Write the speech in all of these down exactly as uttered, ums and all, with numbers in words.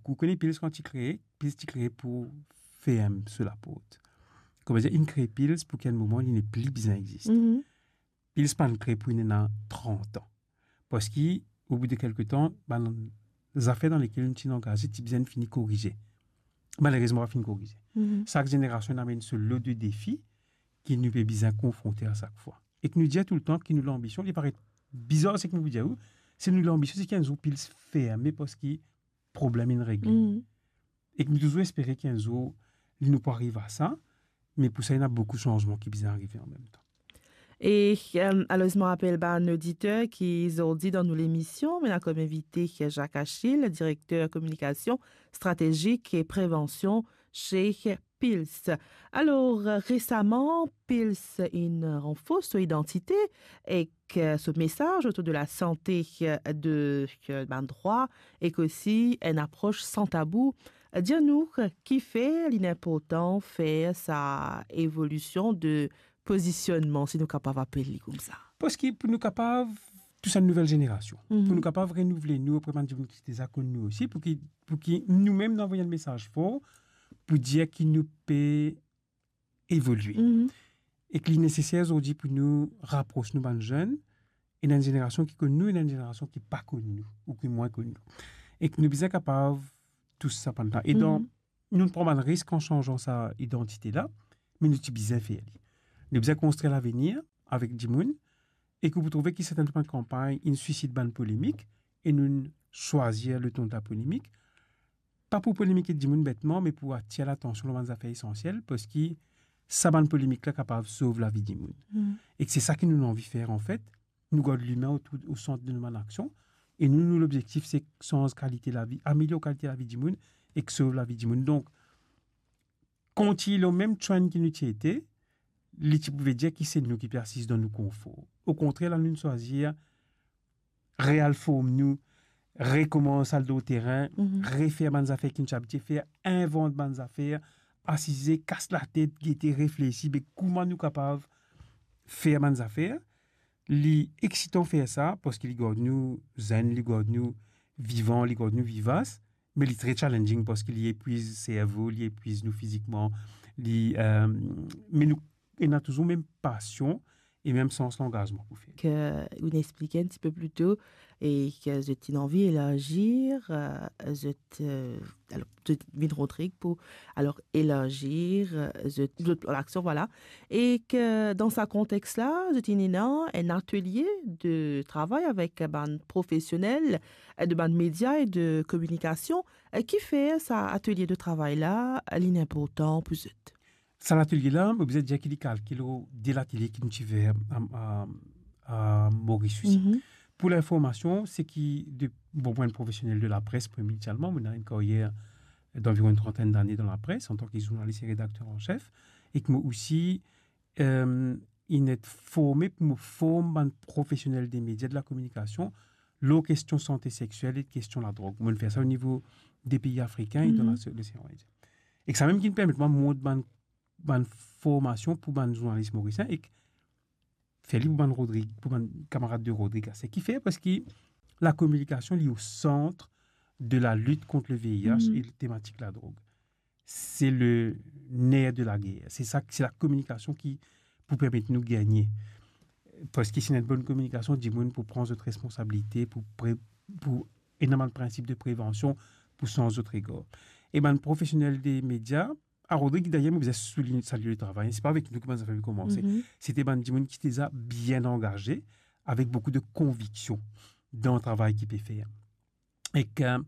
Ou kone Pils kan ti kree, Pils ti kree pou ferm so laport. Kouma dir, inn kree Pils pou ki enn moman li nepli bizin existe. Mhm. Pils pa'nn kree pou inn ena trant an. Parski, o bout de kelke tan, bann zafer dan lekel nou ti angaze, ti bizin fini korize. Malerezman, pa fini korize. Mhm. Sak zenerasion inn amenn so lo de defi ki nou pe bizin konfronte a sak fwa. Ek nou dir toultan ki nou lanbision, li paret bizar seki mo pou dir ou, se nou lanbision, se ki enn zour Pils ferme parski problem inn regle. Mhm. Ek nou touzour espere ki enn zour, nou pou ariv a sa, me pou sa, ena boukou sanzman ki bizin arive anmemtan. E, euh, alor, mo rapel bann oditer ki zordi dan nou lemision, nou ena kom invite Jacques Achille, direkter kominikasion stratezik e prevansion se Pils. Alor, resaman, Pils inn ranfors so idantite ek so mesaz otour de lasante, de, bann drwa, ek osi enn apros san tabou. Dir nou, kifer li inportan fer sa evolision de pozisionnman, si nou kapav apel li koumsa? Parski pou nou kapav tous enn nouvel zenerasion, mhm, pou nou kapav renouvle nou opre bann dimoun ki deza konn nou osi, pou ki, pou ki noumem nou avoy enn mesaz for, pou dir ki nou pe evolye. Mhm. Ek li neseser zordi pou nou rapros nou bann zenn, ena enn zenerasion ki konn nou, ena enn zenerasion ki pa konn nou, ou ki mwin konn nou. Ek nou bizin kapav tous sa bann la. E dan, mhm, nou pran bann risk an sanzan sa idantite la, me nou ti bizin fer li. Nou bizin konstrir lavenir avek dimoun, ek ou pou trouve ki sertin bann kanpagn inn sisit bann polemik, e nou swazir le ton de la polemik, pa pou polemik ek dimoun betman, me pou atir latansion lor bann zafer esansiel, parski sa bann polemik la kapav sov lavi dimoun. Mm. Ek se sa ki nou anvi fer, anfet. Nou gard limin o, o sant de nou bann aksion. E nou, nou lobzektif, se sanz kalite lavi, amelior kalite lavi dimoun, ek sov lavi dimoun. Donk, kontign lor mem trend ki nou ti ete, li ti pou vedir ki se nou ki pe asiz dan nou konfor. Okontrer, la, nou swazir real form nou, rekoumans al dan terin, mhm, refer bann zafer ki nou ti abitie fer, invant bann zafer, asize, kas latet, gete, reflesi, be kouma nou kapav fer bann zafer. Li eksitan fer sa, parski li gard nou zenn, li gard nou vivan, li gard nou vivas, me li tre challenging parski li epwiz servo, li epwiz nou fizikman, li, euh, me nou ena touzour mem pasion e mem sans langazman pou fer. Ke ou inn explik enn tipe pli to e ke zot inn anvi elargir, euh, zot, euh, alor, zot vinn Rodrig pou, alor, elargir, euh, zot, zot plan laksion, vwala. E ke dan sa kontex la, zot inn ena enn atelie de travay avek bann profesionel, euh, de bann media e de kominikasion. Euh, kifer sa atelie de travay la, li inportan pou zot? Sa latelie la, mo bizin dir ki li kalke lor de latelie ki nou ti fer a, a, a Moris osi. Mhm. Pou linformasion, se ki de, bon, mo enn profesionel de lapres, premie inisialman, mo ena enn karyer d'anviron enn trantenn dane dan lapres, antan ki zournalis e redakter an sef, e ki mo osi, euh, inn et forme pou mo form bann profesionel de media, de la kominikasion, lor kestion sante sexiel e kestion ladrog. Mo inn fer sa o nivo de pei afrikin e dan, mhm, lase-, Losean Indien. E sa mem ki inn permet mwa mont bann bann formasion pou bann zournalis morisien ek fer li pou bann Rodrig, pou bann kamarad de Rodrig. Sa ki fer, parski la kominikasion, li o sant de la lit kont le V I H, mhm, e le tematik ladrog. Se le ner de la ger. Se sa, se la kominikasion ki pou permet nou gagne. Parski si ena enn bonn kominikasion, dimoun pou pran zot responsabilite, pou pre-, pou ena bann prinsip de prevansion, pou sanz zot regar. E bann profesionel de media, a Rodrig, dayer, mo bizin soulign-, salie le travay. Se pa avek nou ki bann zafer pe koumanse. Mhm. Se te bann dimoun ki deza bien angaze, avek boukou de konviksion dan travay ki pe fer. Ek, euh,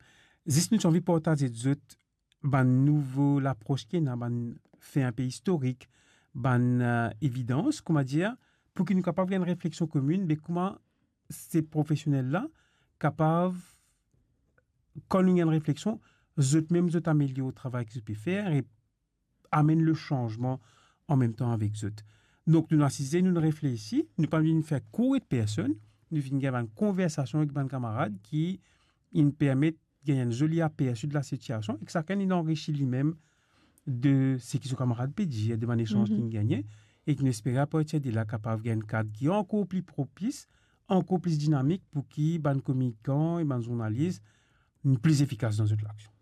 zis nou ti anvi partaz zot bann nouvo lapros ki ena, bann fe inpe istorik, bann, euh, evidans, kouma dir, pou ki nou kapav gagn refleksion komin, be kouma se profesionel la kapav, kan nou gagn refleksion, zot mem zot amelior travay ki zot pe fer e amenn le sanzman anmemtan avek zot. Donk, nou asize, nou reflesi, nou pa vinn fer kour et personn, nou vinn gagn bann konversasion avek bann kamarad ki inn permet gagn enn zoli apersi de la sitiasion, ek sakenn inn anrisi limem de seki so kamarad pe dir, de bann esanz, mhm, ki'nn gagne, ek nou espere apartir de la kapav gagn enn kad ki ankor pli propis, ankor pli dinamik pou ki bann kominikan e bann zournalis pli efikas dan zot laksion.